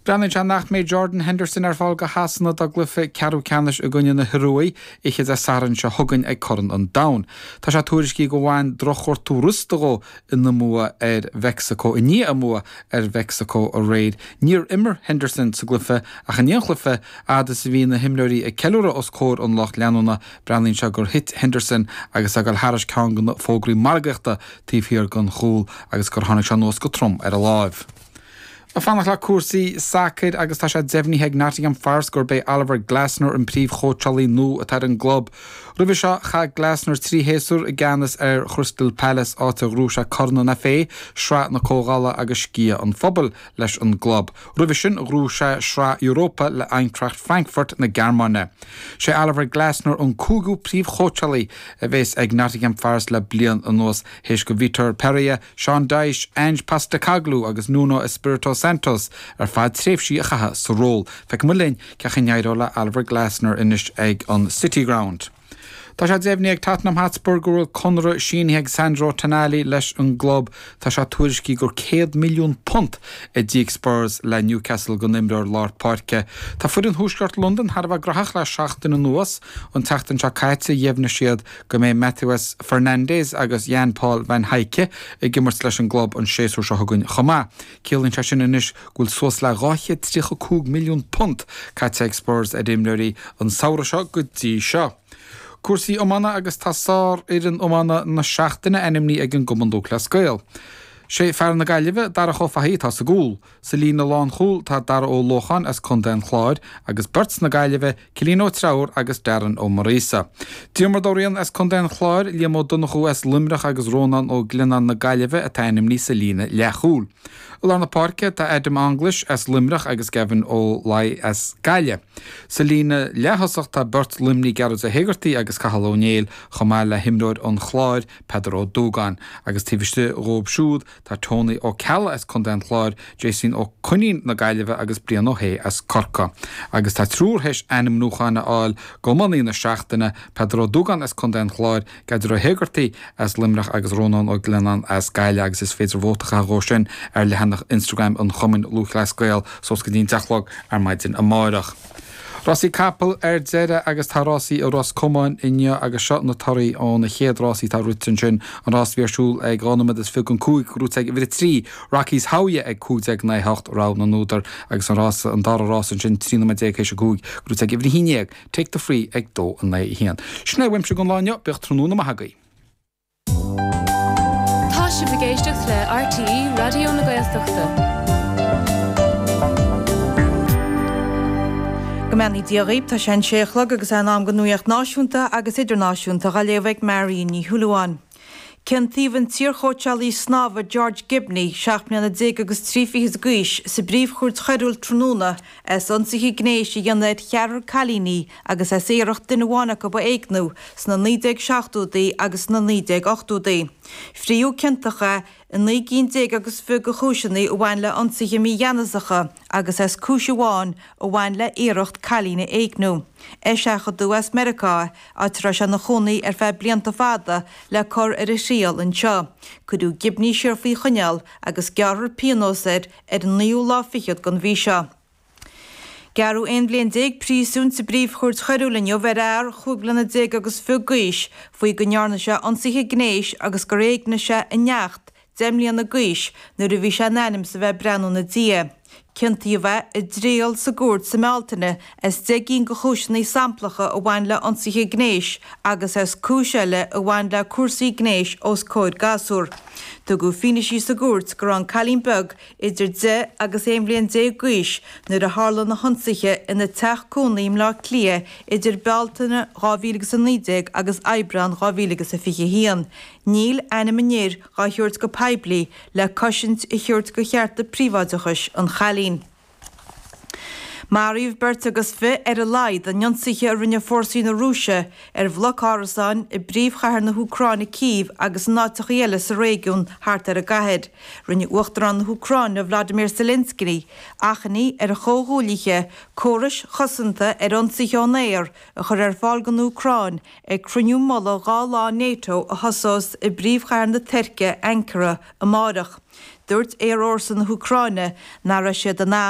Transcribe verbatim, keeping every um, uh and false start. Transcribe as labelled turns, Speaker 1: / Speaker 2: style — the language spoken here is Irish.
Speaker 1: Breathnaíonn sé nach mbeidh Jordan Henderson ar fáil do Shasana dá gcluiche ceathrú ceannais i gcoinne na hIorua oíche Dé Sathairn seo chugainn ag Corn an Domhain. Tá sé tuairiscithe gur bhain drochghortú rosta dhó ina mbua ar Mheicsiceo i ndiaidh a mbua ar Mheicsiceo aréir. Níor imir Henderson sa gcluiche ach i ndiaidh an chluiche fhad is a bhí na himreoirí ag ceiliúradh os comhair an lucht leanúna breathnaíonn sé gur thit Henderson agus é ag dul thairis ceann de na fógraí margaíochta taobh thiar den chúl agus gur tháinig sé anuas go trom ar a láimh. Ag fanacht le cúrsaí sacair agus tá sé deimhnithe ag Nottingham Forest gurb é Oliver Glasner an príomhchóitseálaí nua atá ar an gclub. Roimhe seo chaith Glasner trí shéasúr i gceannas ar Crystal Palace áit a ghnóthaigh sé Corn an FA, Sraith na Comhdhála agus Sciath an Phobail leis an gclub. Roimhe sin ghnóthaigh sé Sraith Europa le Eintracht Frankfurt na Gearmáine. Sé Oliver Glasner an cúigiú príomhchóitseálaí a bheas ag Nottingham Forest le bliain anuas théis do Vitor Pereira, Sean Dyche, Ange Postecoglou agus Nuno Espirito Santos ar fad tréimhsí a chaitheamh sa ról. Feicfidh muid linn cén chaoi a n-éireoidh le Oliver Glasner anois ag an City Ground. Tá sé deimhnithe ag Tottenham Hotspur go bhfuil conradh sínithe ag Sandro Tonali leis an gclub tá sé tuairiscithe gur céad milliún punt a d'íoc Spurs le Newcastle don imreoir lár páirce. Tá foireann Thuaisceart Londain thar a bheith gnóthach le seachtain anuas an tseachtain seo caite dheimhnigh siad go mbeidh Matheus Fernandes agus Jan Paul van Hecke ag imirt leis an gclub an séasúr seo chugainn chomh maith. Ciallaíonn sé sin anois go bhfuil suas le dhá chéad tríocha cúig milliún punt caite ag Spurs ar imreoirí an samhradh seo go dtí seo. Cúrsaí iomána agus tá sárfhoireann iomána na seachtaine ainmnithe ag an gCumann Lúthchleas Gael. Sé fear na Gaillimhe Darach Ó Fathaigh atá sa gcúl. Sa líne lánchúil tá Dara Ó Lócháin as Contae an Chláir agus beirt na Gaillimhe Cillian Ó Treabhair agus Darren Ó Muiríosa. Diarmuid Ó Riain as Contae an Chláir, Liam Ó Donnchú as Luimneach agus Rónán Ó Glionnáin na Gaillimhe atá ainmnithe sa líne leathchúil. I lár na páirce tá Adam Anglis as Luimneach agus Gavin Ó Laoi as Gaillimh. Sa líne leath-thosach tá beirt Luimnigh Gearóid Ó hÉigeartaigh agus Cathal Ó Néill chomh maith le himreoir an Chláir Peadar Ó Dúgáin agus taobh istigh dhóibh siúd tá Tony Ó Ceallaigh as Contae an Chláir, Jason Ó Coinín na Gaillimhe agus Brian Ó hAodha as Corcaigh. Agus tá triúr théis ainmniúchán a fháil d'iománaí na seachtaine Peadar Ó Dúgáin as Contae an Chláir, Gearóid Ó hÉigeartaigh as Luimneach agus Rónán Ó Glionnáin as Gaillimh agus is féidir vóta a chaitheamh dhó sin ar leathanach Instagram an Chumainn Lúthchleas Gael suas go dtí an deich a chlog ar maidin amárach. Rásaí capall ar deireadh agus tá rásaí i Ros Comáin inniu agus seo na torthaí ó na chéad rásaí atá rite ansin an rás bhí ar siúl ag dhá nóiméad is fiche don cúig gnóthaithe ag uimhir a trí Rockies Howya ag cúig déag naoi hocht rogha na n-údar agus an rás an dara rás ansin trí nóiméad déag théis a cúig gnóthaithe ag uimhir a haon déag Take the Free ag dó a naoi a haon. Sin é uaimse don lá inniu bíodh tráthnóna maith agaibh.
Speaker 2: Tá sibh ag éisteacht le RTÉ Raidió na Gaeltachta.
Speaker 3: Go mbeannaí Dia dhaoibh tá sé an sé a chlog agus é in am don nuacht náisiúnta agus idirnáisiúnta á léamh ag Marion Ní Shúilleabháin. Ciontaíodh an t-iarchóitseálaí snámha George Gibney seacht mbliana déag agus trí fichid d'aois sa bpríomhchúirt choiriúil tráthnóna as ionsaithe gnéis a dhéanamh ar cheathrar cailíní agus as iarracht duine amháin acu a éigniú sna naoi déag seachtóidí agus sna naoi déag ochtóidí. Frítheadh ciontach é i naoi gcinn déag agus fiche de chúiseanna a bhain le ionsaithe mígheanasacha agus as cúis amháin a bhain le iarracht cailín a éigniú. Eiseachadadh as Meiriceá áit a raibh sé ina chónaí ar feadh blianta fada le cur ar a thriail anseo. Cuireadh Gibney siar faoi choinneáil agus gearrfar pionós air ar an naoú lá fichead den mhí seo. Gearradh aon bhliain déag príosúin sa bpríomhchúirt choiriúil inniu ar fhear chúig bliana déag agus fiche d'aois faoi go ndearna sé ionsaithe gnéis agus gur éignigh sé a neacht deich mbliana d'aois nuair a bhí sé in ainm is a bheith ag breathnú ina diaidh. Ciontaíodh é i dtriail sa gcúirt sa mBealtaine as deich gcinn de chúiseanna samplacha a bhain le ionsaithe gnéis agus as cúis eile a bhain le cúrsaí gnéis os comhair gasúr. Tugadh fianaise sa gcúirt go raibh an cailín beag idir deich agus aon bhliain déag d'aois nuair a tharla na hionsaithe ina teach cónaí i mBleá Cliath idir Bealtaine dhá mhíle agus a naoi déag agus Aibreán dhá mhíle agus a fiche a haon. Níl ainm an fhir dhá thabhairt go poiblí le cosaint a thabhairt do chearta príobháideachais an chailín. Maraíodh beirt agus fiche ar a laghad in ionsaithe a rinne fórsaí na Rúise ar bhloc árasáin i bpríomhchathair na hÚcráine Cív agus in áiteacha eile sa réigiún thart ar an gcathair. Rinne Uachtarán na hÚcráine Vladimir Zelensky achainí ar a chomhghuaillithe córais chosanta ar ionsaithe ón aer a chur ar fáil don Úcráin ag cruinniú mullaigh dhá lá NATO a thosós i bpríomhchathair na Tuirce Ankara amárach. Dúirt aerfhórsa na hÚcráine nach raibh siad in ann